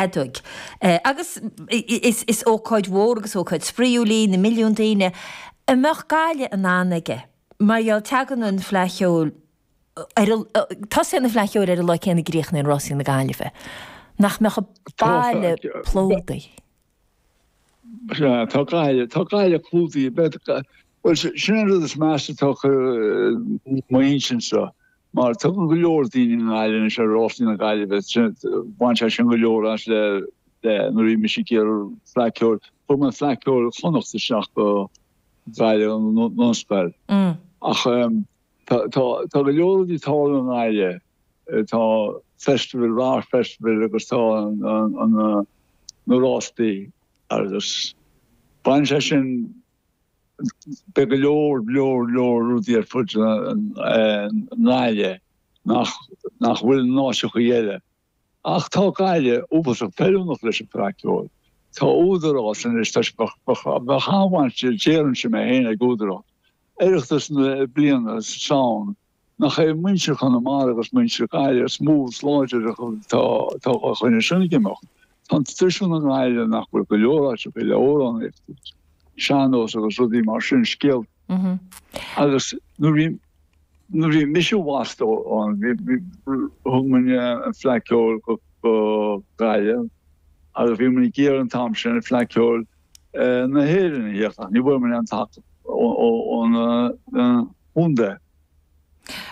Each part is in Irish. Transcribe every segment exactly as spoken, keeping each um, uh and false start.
fheadóig. Agus is is ócáid mhór agus ócáid spraíúil í, na milliúin daoine. An mbeadh Gaillimh in ann aige? Mar gheall, tagann an Fleadh Cheoil ar an, tosaíonn an Fleadh Cheoil ar an lá céanna a gcríochnaíonn Rásaí na Gaillimhe. Nach mbeadh an baile plódaithe? Sea, tá Gaillimh, tá Gaillimh clúdaithe. Beidh, bhuel, sin an rud is measa atá ar m'intinn seo. Mar tagann go leor daoine i nGaillimh anois ar Rásaí na Gaillimhe, bhain sé sin go leor as le nuair a bhí mise ag iarraidh Fleadh Ceoil, chuir mé Fleadh Ceoil Chonnacht isteach go Gaillimh an Ollscoil. Ach tá go leor rudaí ag tarlú i nGaillimh, tá festival, Radharc Festival agus tá na rástaí agus baineann sé sin Beidh go leor, leor, leor rudaí ar fud na nGaillimh nach nach bhfuil in áiteachaí eile. Ach tá Gaillimh uafásach feiliúnach leis an Fleadh Ceoil. Tá údarás anois, tá sé, bheadh an-bhaint, déarfainnse mé féin, ag údarás. Oireachtas na bliana san, nach é muintir Chonamara agus muintir Gaillimh is mó is láidre atá atá fá choinne sin ag imeacht. Tá an traidisiún i nGaillimh nach bhfuil go leor áiteacha le amhránaíocht, sean-nós agus rudaí mar sin, scéalta. Agus nuair bhí nuair bhí mise i bhfastó ann, bhí bhí thug muidne an Fleadh Ceoil go go Gaillimh agus bhí muid ag iarraidh an t-am sin an Fleadh Ceoil na hÉireann a thíocht ach ní bhfuair muid aon tacaíocht ón chontae.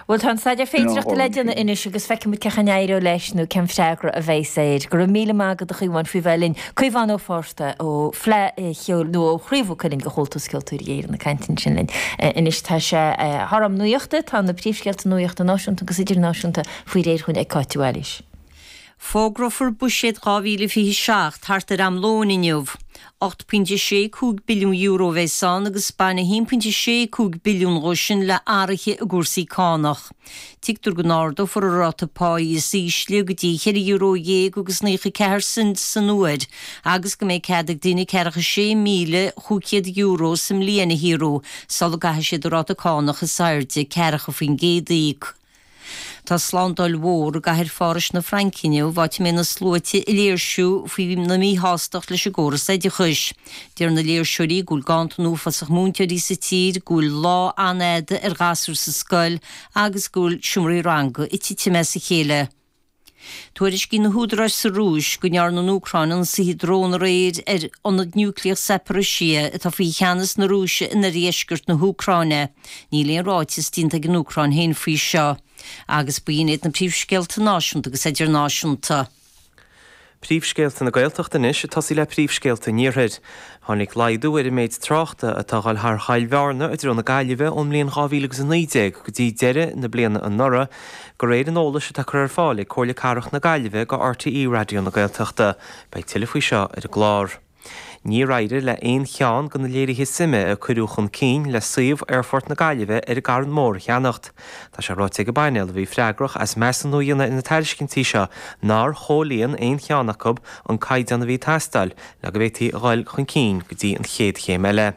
Bhuel, tá an staidéar féidearthachta le déanamh anois agus feicfidh muid cén chaoi a n-éireoidh leis nó cén freagra a bheas air. Go raibh míle maith agat a Chaomháin faoi bheith linn. Caomhán Ó Fátharta ó Fleadh Cheoil nó ó Chraobh Mhaigh Cuilinn de Chomhaltas Ceoltóirí Éireann ag caint ansin linn. Anois tá sé thar am nuachta, tá na príomhscéalta nuachta náisiúnta agus idirnáisiúnta faoi réir chugainn ag Cáit de Bhailís. Fógrófar Buiséad dhá mhíle fiche seacht thart ar am lóin inniu. ocht pointe sé cúig billiún euro a bheas ann agus baineann a haon pointe sé cúig billiún dhó sin le athruithe i gcúrsaí cánach. Tuigtear go n-ardófar an ráta páí is ísle go dtí cheithre euro dhéag agus naocha ceathair cent san uair agus go mbeidh cead ag daoine ceathracha sé míle chúig chéad euro sa mbliain a shaothrú sula gcaithfidh siad an ráta cánach is airde, ceathracha faoin gcéad, a íoc. Tá slándáil mhór i gcathair Phárais na Fraince inniu, áit a mbeidh na sluaite ag léirsiú faoina míshástacht leis an gcóras oideachais. Deir na léirseoirí go bhfuil ganntan uafásach múinteoirí sa tír, go bhfuil lá an-fhada ar ghasúir sa scoil agus go bhfuil seomraí ranga ag titim as a chéile. Tuairiscíonn na húdaráis sa Rúis go ndearna an Úcráin ionsaithe drón aréir ar ionad núicléach Zaporizhzhia atá faoi cheannas na Rúise in oirdheisceart na hÚcráine. Níl aon ráiteas déanta ag an Úcráin féin faoi seo. Agus b'in iad na príomhscéalta náisiúnta agus idirnáisiúnta. Príomhscéalta na Gaeltachta anois, ag tosaí le príomhscéalta an Iarthair. Tháinig laghdú ar an méid tráchta atá ag dul thar Choill Bhearna i dtreo na Gaillimhe ón mbliain dhá mhíle agus a naoi déag go dtí deireadh na bliana anuraidh, de réir an eolais atá curtha ar fáil ag Comhairle Cathrach na Gaillimhe go R T E Raidió na Gaeltachta. Beidh tuilleadh faoi seo ar an gclár. Níor éirigh le haon cheann de na léirithe suime a cuireadh chun cinn le suíomh Aerfort na Gaillimhe ar an gCarn Mór a cheannacht. Tá sé ráite ag an bpainéal a bhí freagrach as measúnú a dhéanamh ar na tairiscintí seo nár chomhlíon aon cheann acu an caighdeán a bhí ag teastáil le go bhféadfaí a dhul chun cinn go dtí an chéad chéim eile.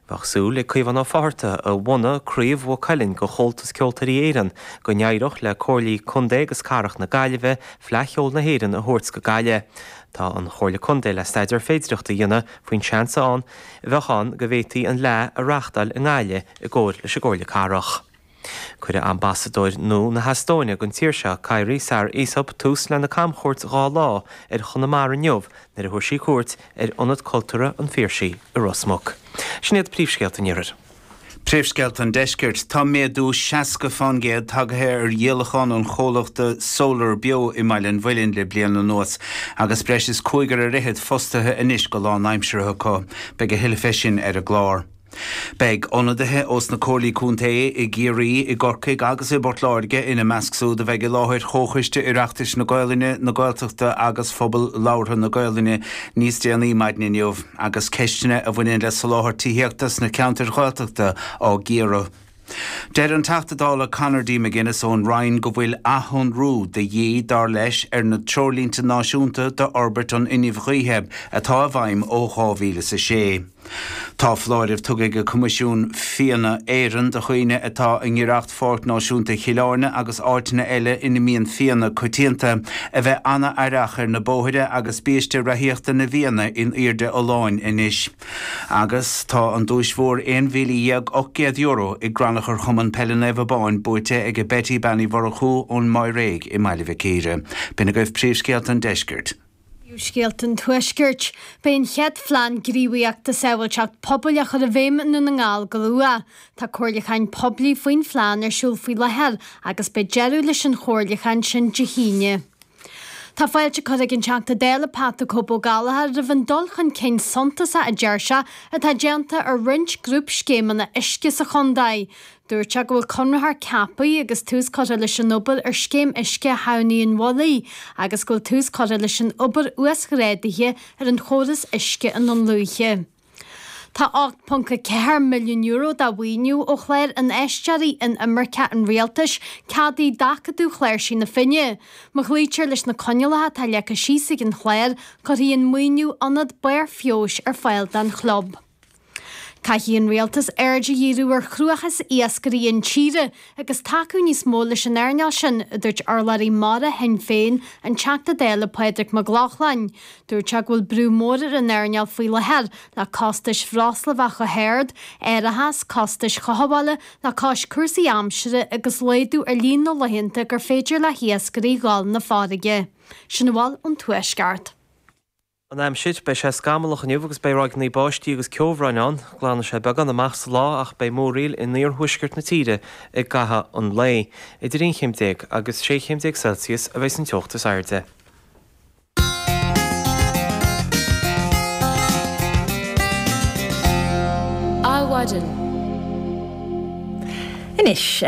Bheadh súil ag Caomhán Ó Fátharta, a bhunaigh Craobh Mhaigh Cuilinn de Chomhaltas Ceoltóirí Éireann, go n-éireodh le Comhairlí Contae agus Cathrach na Gaillimhe Fleadh Cheoil na hÉireann a thabhairt go Gaillimh. Tá an Chomhairle Contae le staidéar féidireachta a dhéanamh faoin seans a bheadh ann go bhféadfaí an Fhleadh a reáchtáil i nGaillimh i gcomhar leis an gComhairle Cathrach. Cuirfidh Ambasadóir nua na hEastóine don tír seo, Kairi Saar-Isop, tús lena camchuairt dhá lá ar Chonamara inniu nuair a thabharfaidh sí cuairt ar Ionad Cultúrtha an Phiarsaigh i Ros Muc. Sin iad príomhscéalta an Iarthair. Príomhscéalta an Deiscirt. Tá méadú seasca fán gcéad tagaithe ar dhíolachán an chomhlachta Solar Beo i mBaile an Mhuilinn le bliain anuas agus breis is cúigear ar fhichead fostaithe anois go lánaimseartha acu. Beidh a thuilleadh fé sin ar an gclár. Beidh ionadaithe ós na Comhairlí Contae i gCiarraí, i gCorcaigh agus i bPort Láirge ina measc súd a bheidh i láthair Chomhchoiste Oireachtais na Gaolainne, na Gaeltachta agus Phobal Labhartha na Gaolainne níos déanaí maidin inniu agus ceisteanna a bhaineann le soláthar tithíochta sna ceantair Ghaeltachta á gcíoradh. Deir an Teachta Dála Conor D. McGuinness ón Rinn go bhfuil athshonrú de dhíth dar leis ar na treoirlínte náisiúnta d'fhorbairt an fhuinnimh ghaoithe atá i bhfeidhm ó dhá mhíle is a sé. Tá foláireamh tugtha ag Coimisiún Fianna Éireann do dhaoine atá i ngiorracht Pháirc Náisiúnta Chill Airne agus áiteanna eile ina mbíonn fianna coitianta a bheith an-aireach ar na bóithre agus biaiste reathaíochta na bhfianna in airde oileáin anois. Agus tá an duais mhór aon mhíle dhéag ocht gcéad euro i gcrannchur Chumann Peile Naomh Abán buaite ag Betty Bean Uí Mhurchú ón Mháiréig i mBaile Mhic Íre. B'in agaibh príomhscéalta an deiscirt. Scéalta an Tuaiscirt. Beidh an chéad phlean gníomhaíochta sábháilteacht pobail á chur i bhfeidhm i nDún na nGall go luath. Tá comhairliúcháin poiblí faoin phlean ar siúl faoi láthair agus beidh deireadh leis an chomhairliúchán sin Dé hAoine. Tá fáilte curtha ag an Teachta Dála Pat the Cope Ó Gallchóir roimh an dul chun cinn suntasach a deir sé atá déanta ar roinnt grúpscéimeanna uisce sa chontae. Dúirt sé go bhfuil conraitheoir ceaptha agus tús curtha leis an obair ar scéim uisce Thamhnaí an Mhullaigh agus go bhfuil tús curtha leis an obair uasghrádaithe ar an chóras uisce i nDún Lúiche. Tá ocht ponc a ceathair milliún euro de mhaoiniú ó chlár Infheisteoirí Inimirce an Rialtais ceadaithe d'Acadamh Chláirsigh na Finne. Má chloítear leis na coinníollacha atá leagtha síos ag an chlár, cuirfidh an maoiniú ionad barr feabhais ar fáil don chlub. Caithfidh an Rialtas aird a dhíriú ar chruachás iascairí intíre agus tacú níos mó leis an earnáil sin, a dúirt urlabhraí mara Shinn Féin, an Teachta Dála Pádraig Mac Lochlainn. Dúirt sé go bhfuil brú mór ar an earnáil faoi láthair le costais bhreosla bheith chomh hard, árachas, costais chothabhála le cois cúrsaí aimsire agus laghdú ar líon na laethanta gur féidir le hiascairí dhul na farraige. Sin a bhfuil ón Tuaisceart. An aimsir, beidh sé scamallach inniu agus beidh ráigeanna báistí agus ceobhráin ann. Glanfaidh sé beagán amach sa lá ach beidh múraíl in iarthuaisceart na tíre i gcaitheamh an lae. Idir aon chéim déag agus sé chéim déag Celsius a bheidh an teocht is airde. Adhmhaidin. Anois,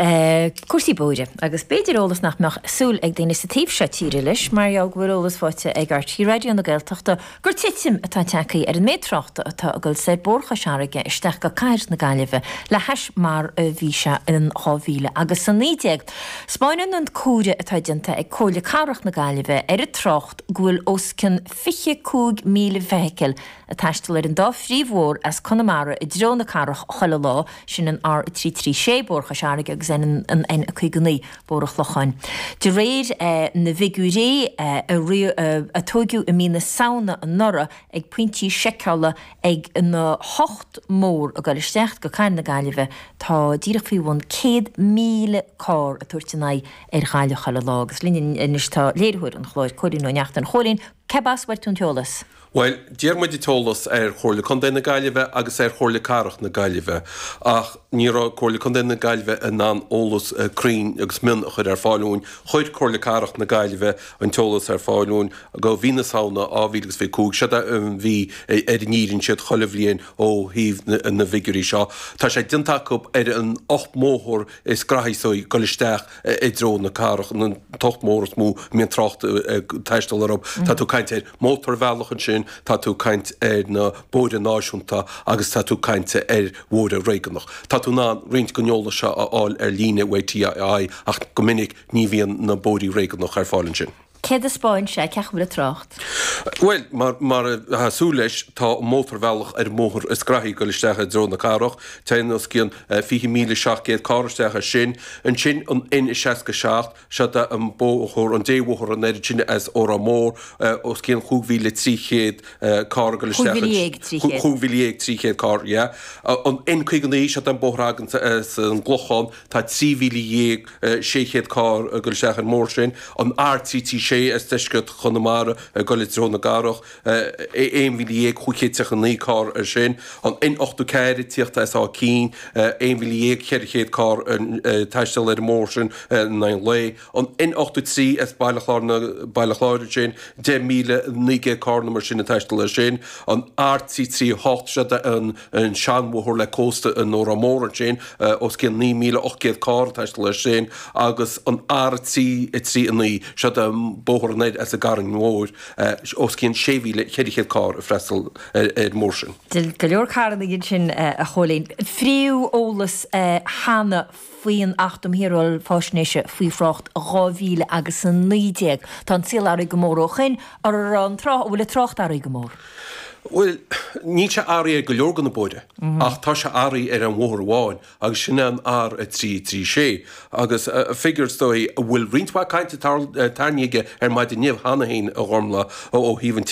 cúrsaí bóithre, agus b'fhéidir eolas nach mbeadh súil ag daoine sa taobh seo tíre leis, mar gheall go bhfuil eolas faighte ag R T Raidió na Gaeltachta gur titim atá tagtha ar an méid tráchta atá ag dul soir Bóthar Chois Fharraige isteach go cathair na Gaillimhe le hais mar a bhí sé in dhá mhíle agus a naoi déag. 'Spáineann an comhaireamh atá déanta ag Comhairle Cathrach na Gaillimhe ar an trácht go bhfuil os cionn fiche cúig míle feithicil ag taisteal ar an dá phríomhbhóthar as Conamara i dtreo na cathrach chuile lá, sin an R a trí trí sé, Bóthar Chois Fharraige, agus an N a caoga naoi, Bóthar an Chlocháin. De réir na bhfigiúirí a tóigeadh i mí na Samhna anuraidh ag pointí seiceála ag na hocht mbóthar ag dul isteach go Cathair na Gaillimhe, tá díreach faoi bhun céad míle carr ag tabhairt a n-aghaidh ar Ghaillimh chuile lá. Agus linn anois tá léiritheoir an chláir, Cóilín Ó Neachtain. A Chóilín, cé as a bhfuair tú an t-eolas? Bhuel, d'iarr muid an t-eolas ar Chomhairle Contae na Gaillimhe agus ar Chomhairle Cathrach na Gaillimhe ach ní raibh Comhairle Contae na Gaillimhe in ann eolas cruinn agus mion a chur ar fáil dúinn. Chuir Comhairle Cathrach na Gaillimhe an t-eolas ar fáil dúinn go mhí na Samhna dhá mhíle agus fiche cúig. Seo an mhí ar a ndíríonn siad chuile bhliain ó thaobh na bhfigiúirí seo. Tá sé déanta acu ar an ocht mbóthar is graithí so ag dul isteach i dtreo na cathrach, an t-ocht mbóthar is mó a mbíonn trácht ag taisteal orthu. Tá tú ag caint ar mhótarbhealach ansin, tá tú ag caint ar na bóithre náisiúnta agus tá tú ag caint ar bhóithre réigiúnach. Tá tú in ann roinnt den eolas seo a fháil ar líne uaidh T I I ach go minic ní bhíonn na bóithrí réigiúnach ar fáil ansin. Céard a 'spáin sé? Cén chaoi a bhfuil an trácht? Bhuel, mar mar atá súil leis, tá an mótarbhealach ar an mbóthar is graithí ag dul isteach i dtreo na cathrach. Téann os cionn fiche míle seacht gcéad carr isteach as sin. Ansin an N seasca seacht, Seod é an bóthar, an débhóthar an oiread sin as Órán Mór, os cionn chúig mhíle trí chéad carr ag dul isteach Cúig mhíle dhéag trí chéad. Cúig mhíle dhéag trí chéad carr, yeah. An N caoga naoi, seod é an bóthar a thagann as an gClochán, tá trí mhíle dhéag sé chéad carr ag dul isteach ar an mbóthar sin. An R trí trí sé as deisceart Chonamara ag dul i dtreo na cathrach, aon mhíle dhéag chúig chéad tríocha naoi carr ar sin. An N ochtó ceathair ag tíocht as Áth Cinn, aon mhíle dhéag ceithre chéad carr ag taisteal ar an mbóthar sin in aghaidh an lae. An N ochtó trí as Baile Chláir na Baile Chláir ansin, deich míle naoi gcéad carr nó mar sin ag taisteal air sin. An R trí trí hocht, seod é an an seanbhóthar le cósta in Órán Mór ansin, os cionn naoi míle ocht gcéad carr ag taisteal air sin. Agus an R trí trí a naoi, seod é an Bóthar anoir as an gCarn Mhór, os cionn sé mhíle ceithre chéad carr ag freastal ar an mbóthar sin. Go leor carranna ansin, a Chóilín. Phríomh-eolas cheana faoin Acht um Shaoráil Faisnéise faoi Thrácht dhá mhíle agus a naoi déag. Tá an saol athraithe go mór ó shoin. An raibh an tráth, an bhfuil an trácht athraithe go mór? Bhuel, níl sé athraithe ar go leor de na bóithre, ach tá sé athraithe ar an bhóthar amháin, agus sin é an R a trí trí sé. Agus figiúr, is dóigh, a bhfuil roinnt mhaith cainte tarraingthe aige ar maidin inniu cheana féin, a Ghormfhlaith, ó thaobh an